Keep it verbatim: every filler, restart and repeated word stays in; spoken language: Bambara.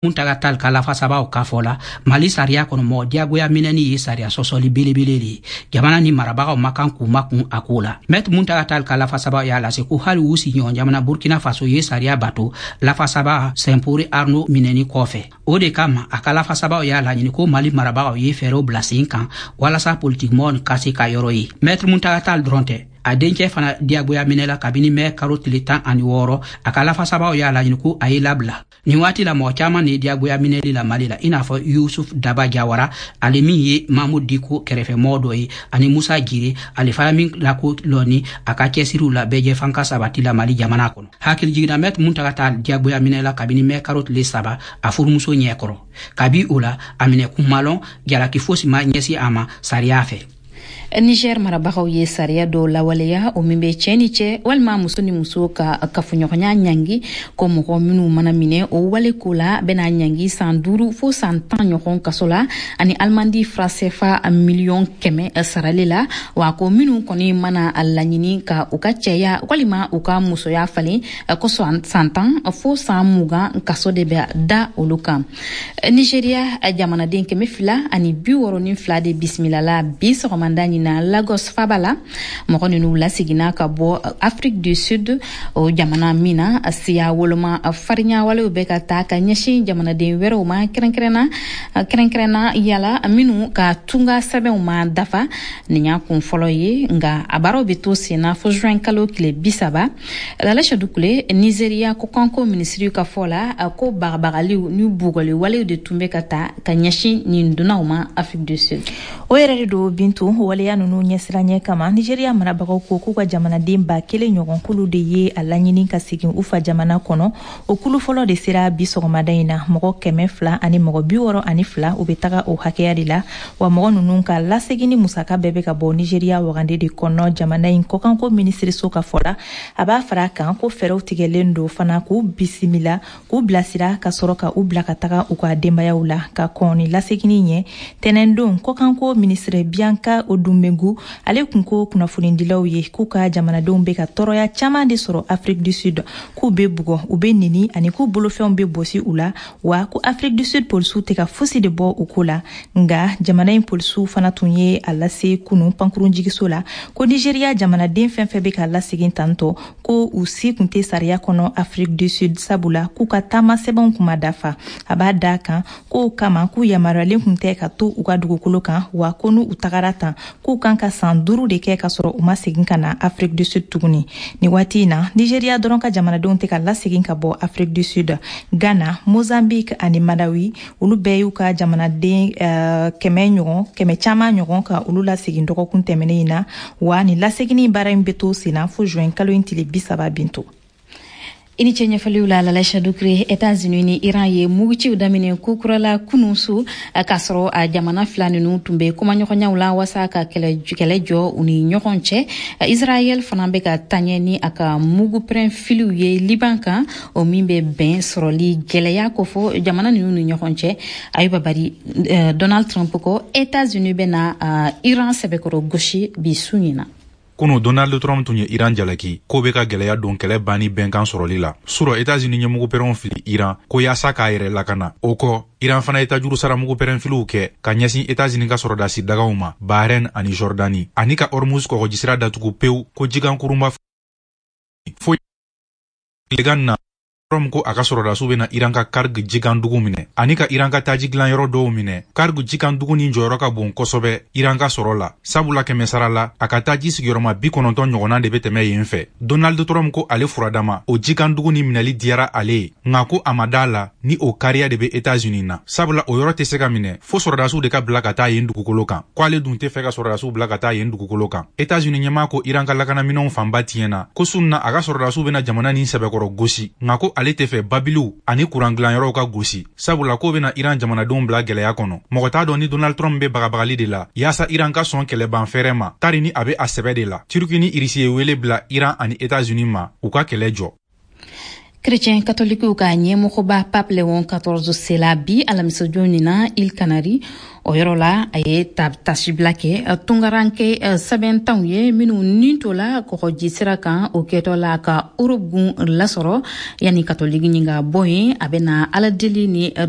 Muntaga Tall ka lafasabaw ka fɔ la, Mali sariya kɔnɔ, mɔgɔ diyagoya minɛni ye sariya sɔsɔli belebele de ye. Jamana ni marabagaw ma kan k'u makun a ko la. Maître Muntaga Tall ka lafasabaw y'a lase ko hali u sigiɲɔgɔn jamana Burkina Faso ye sariya bato lafasaba Simporé Arnaud minɛni kɔfɛ. O de kama, a ka lafasabaw y'a laɲini ko Mali marabagaw ye fɛɛrɛw bila sen kan walasa politikimɔgɔ ka se ka yɔrɔ ye. Maître Muntaga Tall dɔrɔn tɛ, a dencɛ fana diyagoya minɛla kabini mɛ karo tile tan ani wɔɔrɔ. A ka lafasabaw y'a laɲini ko a ye labila. Nin waati la, mɔgɔ caaman de ye diyagoya minɛli la Mali la, i n'a fɔ Yusuf Daba Jawara, ale min ye Mamudu Diko kɛrɛfɛmɔgɔ dɔ ye, ani Musa Jire, ale fana min lako lɔni a ka cɛsiriw la bɛɛjɛ fanka sabati la Mali jamana kɔnɔ. Hakili jiginna, Maître Muntaga Tall diyagoya minɛla kabini mɛ karo tile saba a furumuso ɲɛkɔrɔ. Kabi o la, a minɛ kunmalɔn, jalaki fosi ma ɲɛsi a ma sariya fɛ. Niger marabagaw ye sariya dɔw lawaleya, o min bɛ cɛɛ ni cɛ walima muso ni muso ka kafoɲɔgɔnya ɲangi, ko mɔgɔ minw mana minɛ o wale ko la, bɛna ɲangi san duuru fo san tan ɲɔgɔn kaso la ani alimandi franc C F A miliyɔn kɛmɛ sarali la. Wa ko minw kɔni mana a laɲini ka u ka cɛya walima u ka musoya falen, ko san tan fo san mugan kaso de bɛ da olu kan. Nigeria jamanaden kɛmɛ fila ani bi wɔrɔ ni fila de bisimilala bi sɔgɔmanda ɲin na Lagos faba la. Mɔgɔ ninnu laseginna ka bɔ Afrique du Sud, o jamana min na siya woloma farinya walew bɛ ka taa ka ɲɛsin jamanaden wɛrɛw ma, kɛrɛnkɛrɛnna kɛrɛnkɛrɛnna yala minnu ka tunga sɛbɛnw ma dafa. Nin y'a kun fɔlɔ ye, nka a baaraw bɛ to sen na fo juin kalo tile bi saba. Lala Sadukule, Nizeriya kɔkanko minisiri ka fɔ la, ko bagabagaliw ni bugɔli walew de tun bɛ ka ta ka ɲɛsin nin dunanw ma Afrique du Sud. O yɛrɛ de don, Bintu. Waleya ninnu ɲɛsiranɲɛ kama, Nigeriya marabagaw ko k'u ka jamanaden ba kelen ɲɔgɔn kulu de ye a laɲini ka segin u fa jamana kɔnɔ. O kulu fɔlɔ de sera bi sɔgɔmada in na, mɔgɔ kɛmɛ fila ani mɔgɔ bi wɔɔrɔ ani fila, u bɛ taga o hakɛya de la. Wa mɔgɔ ninnu ka lasegin ni musaka bɛɛ bɛ ka bɔ Nigeriya wagande de kɔnɔ, jamana in kɔkanko minisiriso ka fɔ la. A b'a fara a kan ko fɛɛrɛw tigɛlen don fana k'u bisimila, k'u bilasira, ka sɔrɔ ka u bila ka taga u ka denbayaw la. Ka kɔn ni laseginni ɲɛ, tɛnɛndon, kɔkanko minisiri Bianca Odumegu, ale kun ko kunnafonidilaw ye k'u ka jamanadenw bɛ ka tɔɔrɔya caman de sɔrɔ Afrique du Sud, k'u bɛ bugɔ, u bɛ neni ani k'u bolofɛnw bɛ bɔsi u la, wa ko Afrique du Sud polisiw tɛ ka fosi de bɔ u ko la. Nga jamana in polisiw fana tun ye a lase kunu pankurunjigiso la ko Nigeriya jamanaden fɛn fɛn bɛ ka lasegin tantɔ, ko u si kun tɛ sariya kɔnɔ Afrique du Sud, sabula k'u ka taama sɛbɛnw kun ma dafa. A b'a da kan k'o kama, k'u yamaruyalen kun tɛ ka to u ka dugukolo kan, wa ko n'u tagara tan, k'u kan ka san duuru de kɛ ka sɔrɔ u ma segin ka na Afrique du Sud tuguni. Ni waati in na, Nigeriya dɔrɔn ka jamanadenw tɛ ka lasegin ka bɔ Afrique du Sud. Ghana, Mozambique ani Malawi, olu bɛɛ y'u ka jamanaden uh, kɛmɛ ɲɔgɔn, kɛmɛ caman ɲɔgɔn, ka olu lasegin dɔgɔkun tɛmɛnen in na. Wa ni laseginni baara in bɛ to sen na fo juin kalo in tile bi saba. Binto. I ni ce ɲɛfɔliw la, Lala Dukure. Etats-Unis ni Iran ye muguciw daminɛ kokura la kunun su, k'a sɔrɔ a jamana fila ninnu tun bɛ kumaɲɔgɔnyaw la waasa ka kɛlɛ jɔ u ni ɲɔgɔn cɛ. Israɛl fana bɛ ka taɲɛ ni a ka mugupɛrɛn filiw ye Liban kan, o min bɛ bɛn sɔrɔli gɛlɛya kofɔ jamana ninnu ni ɲɔgɔn cɛ. Ayuba Bari, Donald Trump ko Etats-Unis bɛna Iran sɛbɛkɔrɔ gosi bi su ɲin na. Kunu, Donald Trump tun ye Iran jalaki k'o be ka gwɛlɛya don kɛlɛ banni bɛnkan sɔrɔli la. Surɔ, Etats-Unis ye mugupɛrɛnw fili Iran ko yaasa k'a yɛrɛ lakana. O kɔ, Iran fana ye tajuru sara mugupɛrɛnfiliw kɛ ka ɲɛsin Etats-Unis ka sɔrɔdasi dagaw ma Bahrain ani Jordani, ani ka Hormuz kɔgɔjisira datugu pewu ko jigankurunba foyi tilegan na. Trump ko a ka sɔrɔdasiw bena Iran ka Karg jikandugu minɛ ani ka Iran ka taji dilanyɔrɔ dɔw minɛ. Karg jikandugu nin jɔyɔrɔ ka bon kosɛbɛ Iran ka sɔrɔ la, sabula kɛmɛ sara la, a ka taji sigiyɔrɔma bi kɔnɔntɔn ɲɔgɔnna de be tɛmɛ yen fɛ. Donald Trump ko ale furadama, o jikandugu nin minɛli diyara ale ye, nka ko a ma da la ni o kariya de be Etats-Unis na, sabula o yɔrɔ tɛ se ka minɛ fo sɔrɔdasiw de ka bila ka taa yen dugukolo kan, ko ale dun tɛ fɛ ka sɔrɔdasiw bila ka taa yen dugukolo kan. Etats-Unis ɲɛmaa ko Iran ka lakanaminɛnw fanba tiɲɛna, ko sun na a ka sɔrɔdasiw bena jamana nin sɛbɛkɔrɔ gosi, nka ko ale tɛ fɛ babiliw ani kuran dilanyɔrɔw ka gosi, sabula k'o bena Iran jamanadenw bila gwɛlɛya kɔnɔ. Mɔgɔ t'a dɔn ni Donald Trump be bagabagali de la yaasa Iran ka sɔn kɛlɛban fɛrɛ ma, tari ni a be a sɛbɛ de la. Turki ni Irisi ye wele bila Iran ani Etats-Unis ma u ka kɛlɛ jɔ. Chrétien katolikiw ka ɲɛmɔgɔba Pape Léon quatorze sela bi alamisajon nin na Îles Canaries. O yɔrɔ la, a ye tasibila kɛ tungaranke sɛbɛntanw ye minnu nin tola kɔgɔji sira kan, o kɛtɔ la ka Europe gun lasɔrɔ. Yanni katoliki ɲin ka bɔ yen, a bɛna aladeli ni dɔ